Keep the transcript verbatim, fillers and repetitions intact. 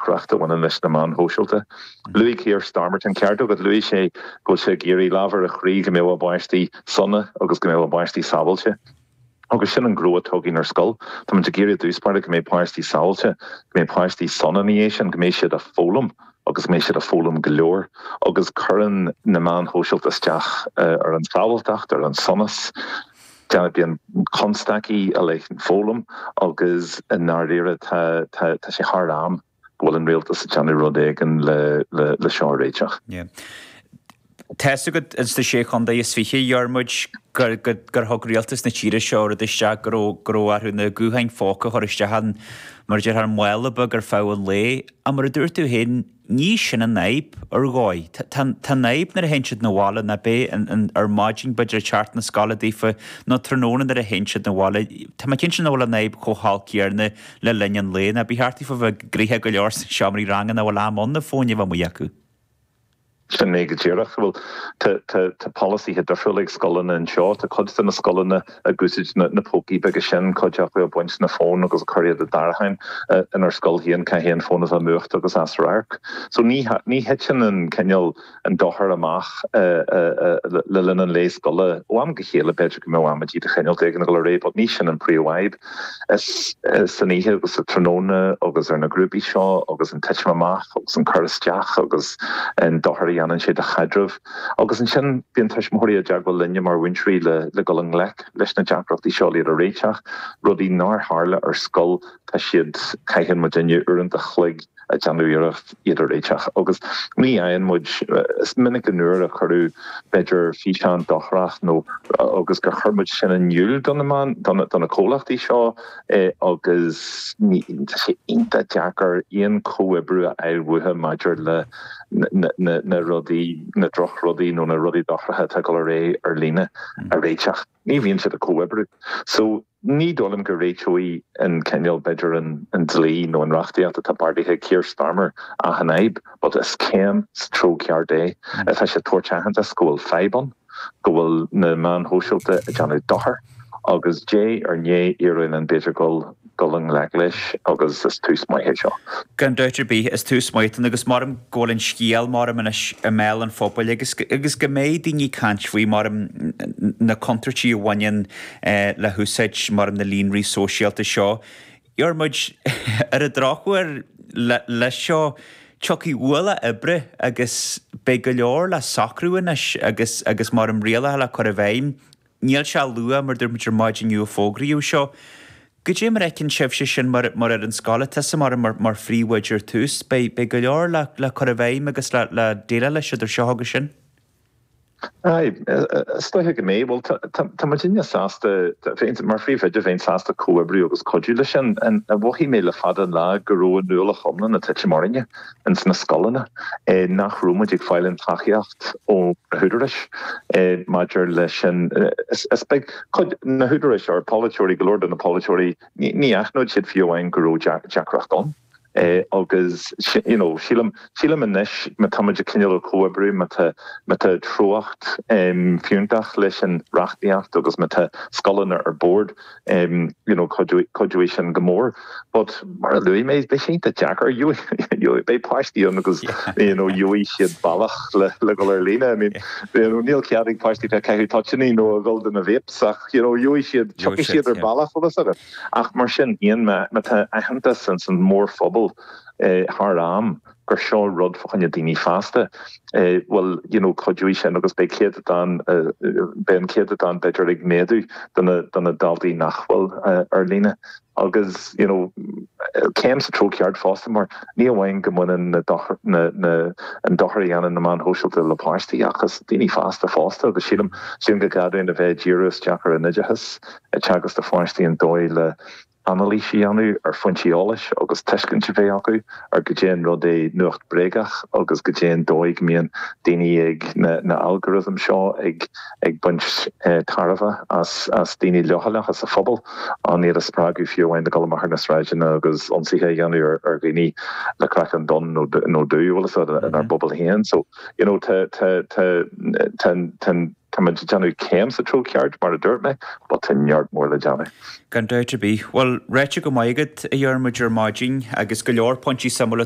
deacracht a bhaineann leis na meáin shóisialta. Luaigh Keir Starmer an ceart agat luaigh sé go sé ag iarraidh lámh ar a chroí go mbeadh a bpáistí sona agus go mbeadh a bpáistí sábháilte. Agus sin an gnó atá againn ar scoil, Tá muid ag iarraidh dúspáir go mbeidh páistí sábháilte, go mbeidh páistí sona ní sin go mbeidh siad ag foghlaim agus mbeidh siad ag foghlaim go leor, agus cuireann na meáin shóisialta isteach uh, ar an sábháilteacht ar an sonas. Bíonn constaicí a leis an foghlaim agus i ndáiríre tá sé thar am go bhfuil an rialtas ag déanamh rud éigin le, le, le seo a réiteach. Yeah. Tá agat ins na sé chontae is fiche Dhiarmuid gur gur thug rialtas na tíre seo rud isteach go raibh orthu na gutháin phóca a chur isteach an mar deir ar mála beag ar feadh an lae, a mar a dúirt tú féin ní sin an fhadhb ar dhóigh. Tá an fhadhb nuair a théann siad 'na bhaile ná bé ar maidin b'fhéidir teacht na scoile daofa nó tráthnóna nuair a théann siad 'na bhaile. Tá mé cinnte nach bhfuil an fhadhb chomh holc céanna le linn an lae ná ba cheart daofa bheith gnoitheach go leor sna seomraí ranga nach bhfuil am ann na fóin a bheith amuigh acu. Sin é go díreach bhfuil tá polasaithe difriúla ag scoileanna anseo tá cuid de na scoileanna ag úsáid na, na pócaí beaga sin cuid acu ag baint na fón agus cur iad i dtarraitheán inár scoil féin caithfidh an fón a bheith múchta agus as radharc. So ní ní thiteann an cineál an dochar amach le linn an lae scoile ó am go chéile b'fhéidir go mbeadh amaidí de chineál éigin go ré, but ní sin an príomhfhadhb is san oíche agus sa tráthnóna agus ar na grúpaí seo agus an titim amach agus an cur isteach agus an dochar a dhéanann sé do chaidreamh. Agus ansin bíonn tuismitheoirí i dteagmháil linne mar mhúinteoirí le le dul i ngleic leis na deacrachtaí seo iad a réiteach, rudaí nár tharla ar scoil tá siad caitheann muidinne uaireanta an chloig ag déanamh iarracht iad a réiteach. Agus ní fhaigheann muid is minic an uair a cuireadh b'fhéidir físeán dochrach nó agus gur chuir muid sin in iúl do na do na comhlachtaí seo eh, agus tá sé iontach deacair aon chomhoibriú a fháil uathu maidir le na, na, na rudaí na drochrudaí nó na rudaí dochracha atá ag dul ar aghaidh ar líne a réiteach. Ní bhíonn siad ag comhoibriú. So ní dóigh liom go réiteoidh an cineál b'fhéidir an, an dlí nó an reachtaíocht atá beartaithe Keir Starmer achan fhadhb, but is céim sa treo ceart é. Tá sé tabhairt aitheantas go bhfuil fadhb ann, go bhfuil na meáin shóisialta ag déanamh dochar, agus diaidh ar ndiaidh iarraidh an b'fhéidir dul dul i ngleic leis agus is tús maith é seo. Gan dabht ar bith is tús maith agus mar go bhfuil an scéal mar anois i mbéal an phobail agus agus go mbeidh daoine ag caint faoi mar na contúirtí a bhaineann eh, le húsáid mar na líonraí sóisialta seo. Diarmuid ar an drochuair le seo tiocfaidh ualach oibre agus beidh go leor le socrú anois agus agus mar an rialacha le cur i bhfeidhm. Níl sé luath mar dúirt muid ar maidin inniu fógraíodh seo. Goidé mar a fheiceann sibhse sin mar mar ar an scoil tusa mar mar mar phríomhoide ar tús, beidh beidh go leor le le cur i bhfeidhm agus le le déileáil leis idir seo agus sin. Ai, is dóiche go mbeidh well tá muidinne sásta mar phríomhoide bheinn sásta comhoibriú agus cuidiú leis sin a mhothaigh mé le fada an lá go raibh an ualach iomlán ag titim orainne ins na scoileanna nach raibh muid ag fáil an tacaíocht ó na húdaráis maidir leis sin is beag cuid na húdaráis ar polaiteoirí go leor de na polaiteoirí ní aithneodh siad fiú amháin go raibh deacracht ann. Eh, agus you know, sílim sílim anois má tá muid ag cineál comhoibriú má tá má tá treocht um, fiúntach leis an reachtaíocht agus má tá scoileanna ar bord um, you know, cuideoidh sin go mór. But mar a luaigh mé beidh sé deacair beidh páistí ann agus you know, gheobhaidh siad bealach le le dul ar líne. I mean, you know, níl cead ag páistí bheith ag caitheamh toitíní nó a dhul do na vapes ach you know, gheobhaidh siad tiocfaidh siad ar bealach ach mar sin féin má tá aitheantas san mórphobal eh, thar am gur seo rud fá choinne daoine fásta eh, well you know cuideoidh sin agus beidh céatadán eh, beidh an céatadán b'fhéidir ag méadú do na daltaí nach bhfuil uh, ar líne agus you know céim sa treo ceart fosta mar ní amháin go mbaineann na na na an dochar a dhéanann na meáin shóisialta le páistí agus daoine fásta fosta agus sílim sin go gcaithfidh a bheith díriú isteach ar an oideachas ag teagasc do pháistí an dóigh le anailís a dhéanamh ar fhoinsí eolais agus tuiscint a bheith acu ar goidé an rud é nuacht bréagach agus goidé an dóigh go mbíonn daoine ag na, na algorithm seo ag ag baint eh, tairbhe as as daoine leochaileacha sa phobal an iad a spreagadh fiú amháin dul amach ar na sráideanna agus ionsaithe a dhéanamh ar, ar dhaoine le craiceann donn nó nó dubh inár mm bpobal féin so you know tá tá tá tá tá Tá muid ag déanamh céim sa treo ceart mar a dúirt mé, but tá neart mór le déanamh. Gan dabht ar bith. Well ráite go maith agat a Dhiarmuid ar maidin agus go leor pointí suimiúla